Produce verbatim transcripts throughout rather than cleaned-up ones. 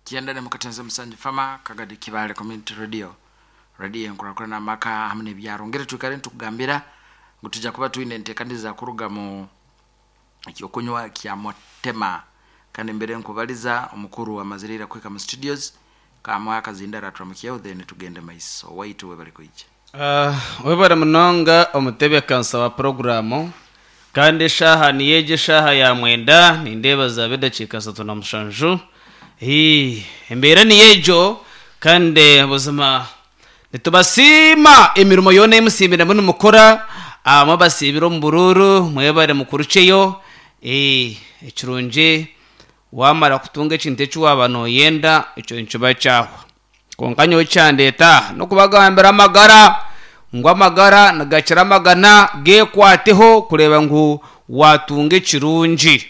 Kyenda nemukatenze musanju fama Kagadi Kibale Community Radio, radio enkurakurana amaka hamwe n'ebyaro. Ngeri twikare nitukugambira ngu tuja kuba twine enteekaniza kuruga mu ekyokunywa kya Motema. Kandi mbere nkubaliza omukuru amazire ira kuhika mu studios kamwe akazindara turamukyeho, then tugende maiso waitu we bari kwija. Uh, webare munonga omutebekanisa wa poroguramu. Kandi eshaaha niyo egi, eshaaha ya mwenda nindeeba zaaba edakiika asatu na mushanju. Hii, embeera niyo egyo. Kandi buzima nitubasiima emirimo yoona emusiimire nimukora. Abamwe basiibire omu buruuru, mwebare mukurukyeyo. Eh, ekirungi wamara kutunga ekintu eki waaba nooyenda, ekyo nikiba kyahwa. Kwonka nyowe kyandeeta aha n'okubagambira amagara, ngu amagara nigakira amagana, gekwateho kureeba ngu watunga ekirungi.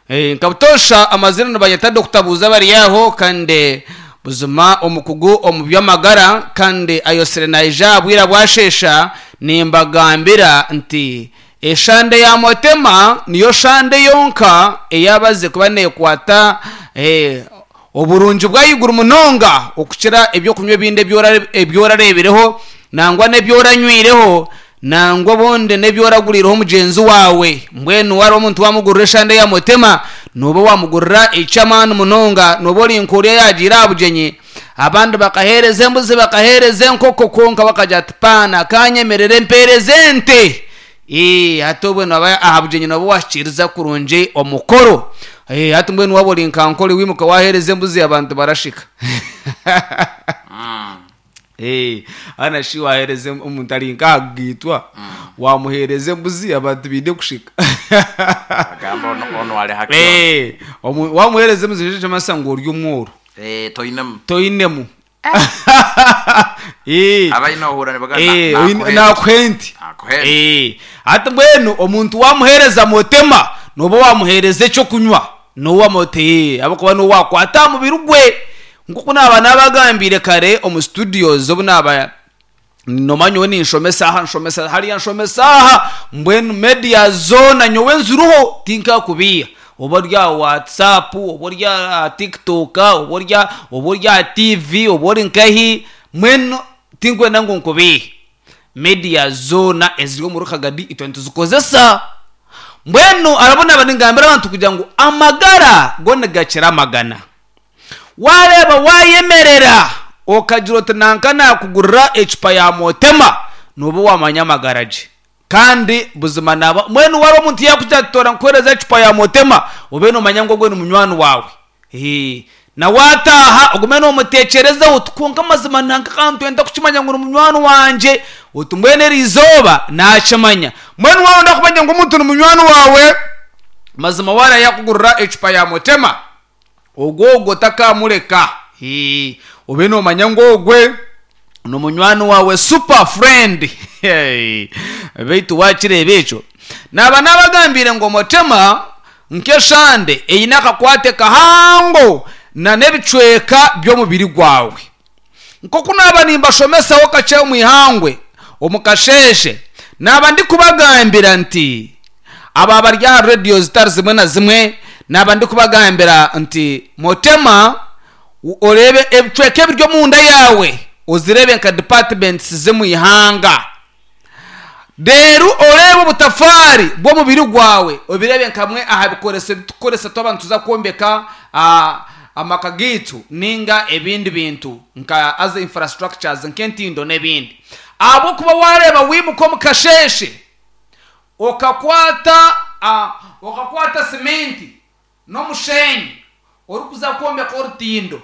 Eh, nka butoosha amazina nibanyeta Doctor Buuza bari aho, kandi buzima omukugu omu by'amagara, kandi ayosire naija aha bwira bwashesha. Nimbagambira nti eshande ya Motema niyo shande yonka eyabaze kuba nekwata eh, oburungi bw'ahaiguru munonga okukira ebyokunywa ebindi ebyorareebireho, nangwa n'ebyoranywireho, nangwa obundi n'ebyoragurireho mugyenzi wawe. Mbwenu wari omuntu wamugurira eshande ya Motema, noba wamugurira eky'amaani munonga. Noba ori nk'oriya yagiire aha bugyenyi, abandi bakaheereza embuzi, bakaheereza enkoko, kwonka bakagira ati, "Paana kanyemerere mpeereze ente." Ee, hati obwe noba aha bugyenyi noba washikiriza kurungi omukoro. Ee, hati mbwenu waba ori nka nkore, wimuka waheereza embuzi, abantu barashika. Ee, hana shi waheereza omuntu ari nk'ahagaitwa, wamuheereza embuzi, abantu baine kushika. Agamba ono ono ali haki. Ee, omu- wamuheereza embuzi nikyo kimanyisa ngu ori omworo. Eh, toinemu. Toinemu. Ee. Abaine ohura nibaga. Eh, oine- nakuha ente. Nakuha ente. Eh, hati mbwenu omuntu wamuheereza Motema, noba wamuheereza ekyokunywa nowamote, ahabwokuba niwe wakwata aha mubiri gwe. Nkoku naaba nabagambire kare omu studios, obu naaba nomanya nyowe ninshomesa aha, nshomesa hariya, nshomesa aha, mbwenu media zoona nyowe nziruho, tinkakubiiha. Oba ori aha WhatsApp, oba ori aha TikTok, oba ori aha- oba ori aha T V, oba ori nkahi, mbwenu tinkwenda ngu nkubiihe. Media zoona eziri omuri Kagadi itwe nituzikozesa. Mbwenu arabo naba ningambira abantu kugira ngu amagara go nigakira amagana. Wareeba wayemerera okagira oti nanka nakugurira ecupa ya Motema, noba wamanya amagara gye. Kandi buzima naba mbwenu wari omuntu yakugira ati, "Tora nkuhereza ecupa ya Motema," obe nomanya ngu ogwe ni munywani wawe. Ee, na wataha ogume nomutekyerezaho oti, "Kwonka amazima nanka kandi twenda kukimanya ngu ni munywani wangye," oti mbwenu eri izooba nakimanya. Mbwenu waronda kumanya ngu omuntu ni munywani wawe mazima, wara yakugurira ecupa ya Motema, ogwo ogwo takamureka. Ee, obe nomanya ngu ogwe ni munywani wawe, super friend. Hey, beitu wakireeba ekyo naba nabagambire ngu Motema nk'eshande eine akakwate kahango na n'ebicweka by'omubiri gwawe. Nkoku naba nimbashomesaho kakye omu ihangwe omu kasheeshe, naba ndikubagambira nti aba bari aha radiyo zitari zimwe na zimwe, naba ndikubagambira nti Motema oreebe ebicweka ebiri omunda yawe, ozirebe nka departments z'omu ihanga. Reero oreebe obutafaari bw'omubiri gwawe, obirebe nkamwe aha bikoreso ebitukukoresa twaba nituza kwombeka ah, amaka gaitu ninga ebindi bintu nka as infrastructures, nk'entindo n'ebindi. Ahabwokuba wareeba wimuka omu kasheeshe okakwata ah, okakwata simenti n'omushenyi orikuza kwombeka orutindo.